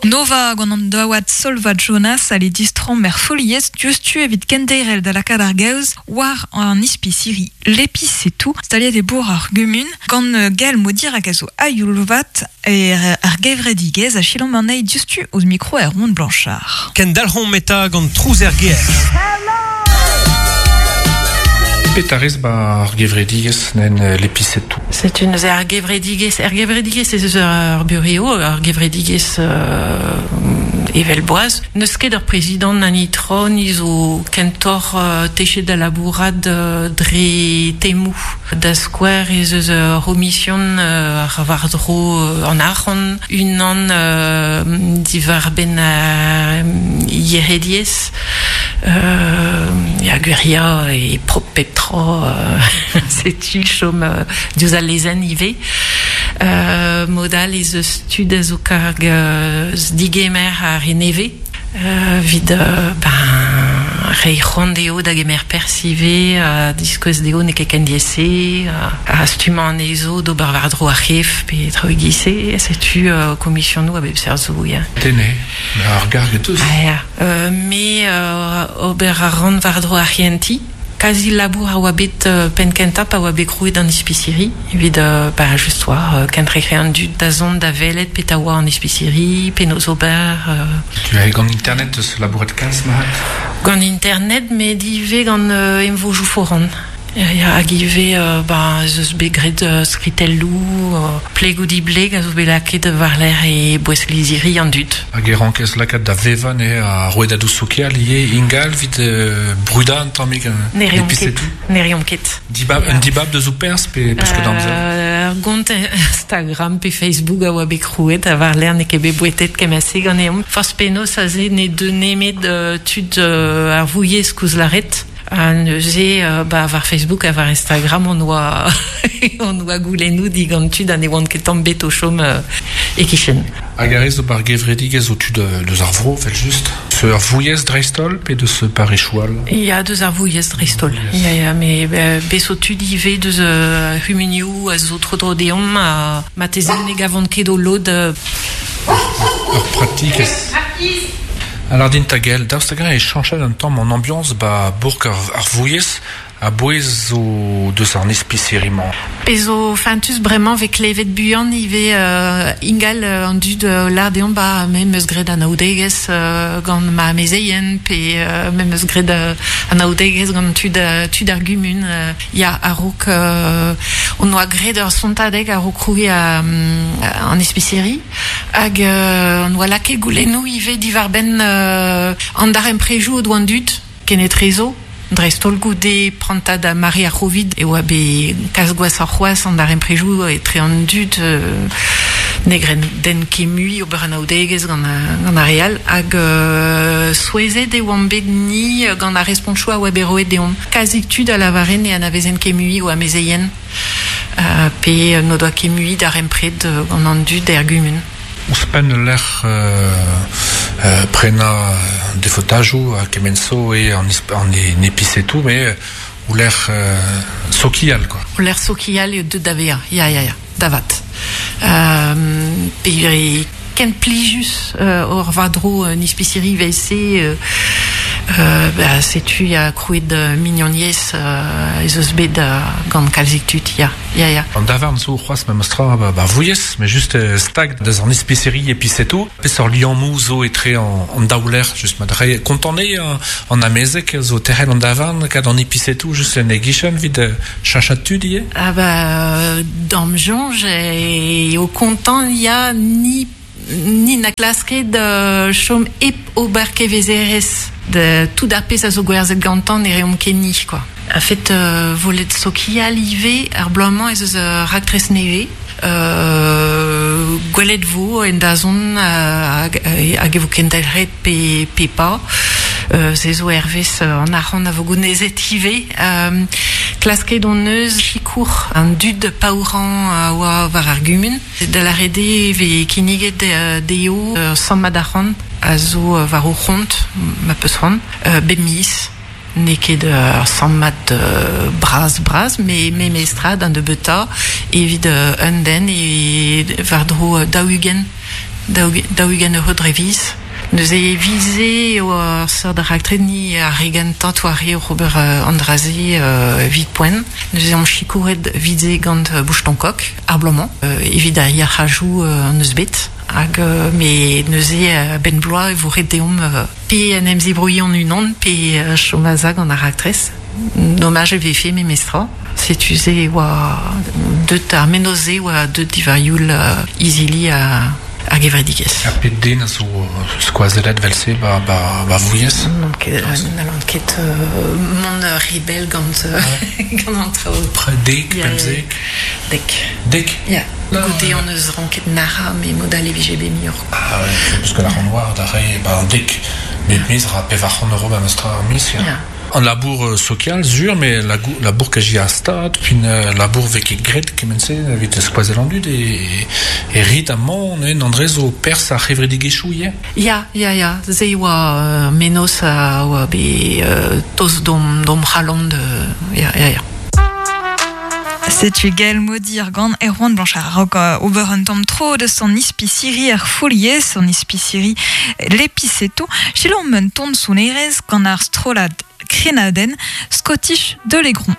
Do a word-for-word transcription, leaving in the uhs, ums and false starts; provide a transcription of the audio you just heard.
Nova gant an daouad Solva Jonas a le distran mer foliez diouzhtu evit kenderel da lakaat ar gaoz war an ispisiri l'épicetou staliet e bourg ar gumun gant Gaël Modir hag a zo aioulvat er ar gevredigez a chilom an ei diouzhtu ouzh mikro er Rond Blanchard. Kendalc'homp eta gant trouz er ger. Petarez ba ar gevredigez nen l'épicetou. C'est une ar gevredigez, ar gevredigez ez eus ar bureau, ar gevredigez euh, evel boaz. Neus ket ur prezident an itron izo kentor euh, techet da labourad euh, dre temou. Da skouer ez eus ur omission euh, ar war dro euh, an arc'hant, unan euh, divar ben euh, yerediez, euh, ya gueria e prop pep tra euh, setu chom euh, diouzh al lezenn ivez. Euh, modal ez eus tud a zo karg euh, digemer ar reneve. Euh, vid euh, ben, rei c'hoant dezho da gemer perzh ivez, euh, diskouez dezho n'eo ket ken diaes-se, euh, a stummañ anezho d'ober war-dro ar c'hef pe traoù e-giz-se, setu euh, komisionoù a bep seurt zo, ya. Tene, ar garg e teus. Ah, ya. Euh, me euh, ober a ran war-dro ar c'henti. Kazi labour a oa bet euh, penn kentañ pa oa bet krouet an ispisiri, evit euh, ba, just war, euh, kentrec'he an dud da zont da welet pet a oa an ispisiri, penaos ober... Euh, Tu as gant internet eus labouret kalz mahat? Gant internet, met ivez gant euh, emvojou foran. Ya, ya, hag ivez, euh, ba, ez eus bet graet euh, skritelloù, euh, pleg ou dibleg a zo bet lakaet war-lerc'h e boest-lizhiri an dud. Hag e rankez lakaat da vevañ eo a rouedadoù sokial ivez ingal evit euh, brudañ un tammig euh, Ne reomp ket. l'épicetou. Ne reomp ket. Dibab, un dibab deus o perzh pe peus ket amzer? Euh, gant Instagram pe Facebook a oa bet krouet a war-lerc'h n'eo ket bet bouetet kement-se ganeomp. Forzh penaos aze ne deu nemet euh, tud euh, ar vouilhez koulz lâret. Ha neuze, euh, ba, war Facebook ha war Instagram on oa on oa goulennoù digant tud ha ne oant ket tamm bet o chom euh, e-kichen. Hag a rez zo bar gevredigez o tud euh, deus ar vro, vel just. Se ar vouilhez dreist-holl pe deus parechoual? Ya, deus ar vouilhez dreist-holl. Ya, ya, me euh, bez zo tud ivez deus euh, c'humunioù a zo tro-dro deomp ha marteze ne gavont ket o lod euh, Ur pratik ez. Alors din ta gel, daoust hag-eñ e chañchet un tamm an ambiance ba bourk ar, ar vouilhez a bouez zo deus ar ispisiri-mañ. Pezh zo fentus bremañ vez klevet buan ivez euh, ingal euh, an dud euh, lar deomp ba me 'm eus graet anaoudegezh euh, gant ma amezeien pe euh, me 'm eus graet euh, anaoudegezh gant tud, euh, tud ar gumun euh, ya a-raok euh, on oa graet ur sontadeg a-raok krouiñ euh, an ispisiri hag euh, on oa lakaet goulennoù ivez diwar-benn euh, an darempredoù o doa an dud kenetrezo. Dreist-holl goude prantad ar mare ar Covid e oa bet kalz gwashoc'h c'hoazh an darempredoù etre an dud euh, ne gren den ket mui ober anaoudegezh gant, gant ar re all hag euh, souezhet e oamp bet ni gant ar respontoù a oa bet roet deomp. Kazik tud a lavare ne anavezen ket mui o amezeien euh, pe n'o doa ket mui darempred gant an dud er gumun. Ouzhpenn lec'h euh, euh, prenañ defotajoù a kement zo e an, isp- an e, épicetou, mais euh, ou lec'h euh, sokial, quoi. O lec'h sokial eo deut da vezañ, ya, ya, ya, da vat. Euh, pe e ken plijus euh, ur war-dro un ispisiri evel-se euh, euh, ba, setu ya krouet euh, mignoniezh euh, ez eus bet euh, gant kalzik tud, ya, ya, ya. An davarn zo c'hoazh memestra ba, ba vouilhez, mais juste euh, stag deus an ispisiri épicetou. Peseurt liammoù zo etre an, an daou lec'h, just ma dre kontant eo an, an amezeg zo terc'hel an davarn kad an épicetou just en e gichen vid euh, chachat tud ivez? Ah ba, d'am soñj eo kontant ya ni ni na klasket euh, chom hep ober kevezerezh de tout ar pezh a zo gwerzhet gantañ ne reomp ket ni, quoi. A fet euh, volet sokial ivez ar bloaz-mañ ez eus ur raktres nevez. Euh, gwelet vo en dazont hag, hag e vo kendelc'het pe, pe pa. Euh, se zo hervez an arc'hant a vo gounezet ivez. Euh, klasket hon eus sikour an dud paourañ a oa war ar gumun. Da lâret eo e vez kinniget dezho ur sammad arc'hant a zo war o c'hont, ma peus c'hoant, euh, bep miz. N'eo ket ur sammad euh, bras bras, me me mestrad an nebeutañ evit euh, un den e war-dro daou-ugent daou ugent euro dre viz. Neuze vize o ar seurt ar raktre ni ar regan tant war re ober uh, andraze uh, vit poent. Neuze am chikouret vize gant uh, bouchton-kok, ar blomañ, uh, evit ar yac'hajou uh, an eus bet. Hag uh, me neuze uh, ben bloaz e vo ret deomp uh, pe en em zebrouilli an unan, pe uh, chomazag gant ar raktres. Dommage e vefe me mestra. Setu ze oa deut ar menoze oa deut divarioul uh, izili a ar gevredigezh. Ar pet den a zo skoazelet velse ba, ba, ba vouiez? Non ket, n'allant ket euh, mont rebel gant, gant an traoù. Pre dek, pemzek? Dek. Dek? Ya. Goude an eus ranket nara, me modal e vije be miur. Ah ouais, parce que la renoir da re, ba an dek, met miz ra pevar c'hant euro ba meustra ar miz, ya. Ya. An labour social, zur, mais labour ka a stad, pin labour vek e gret kemense, evit skoazel an dud, e, e rit amon, en andrez o pers ar c'hevredigezhioù ivez? Ya, ya, ya, ze oa uh, menos a oa be uh, toz dom, dom c'halon de... Ya, ya, ya. Setu Gaël Modir gant Erwan Blanchard raok ober un tamm tro deus an ispisiri ar foliez, an ispisiri l'épiceto, chilom un ton sonerez gant ar strollad Krenaden, Scottish de Légron.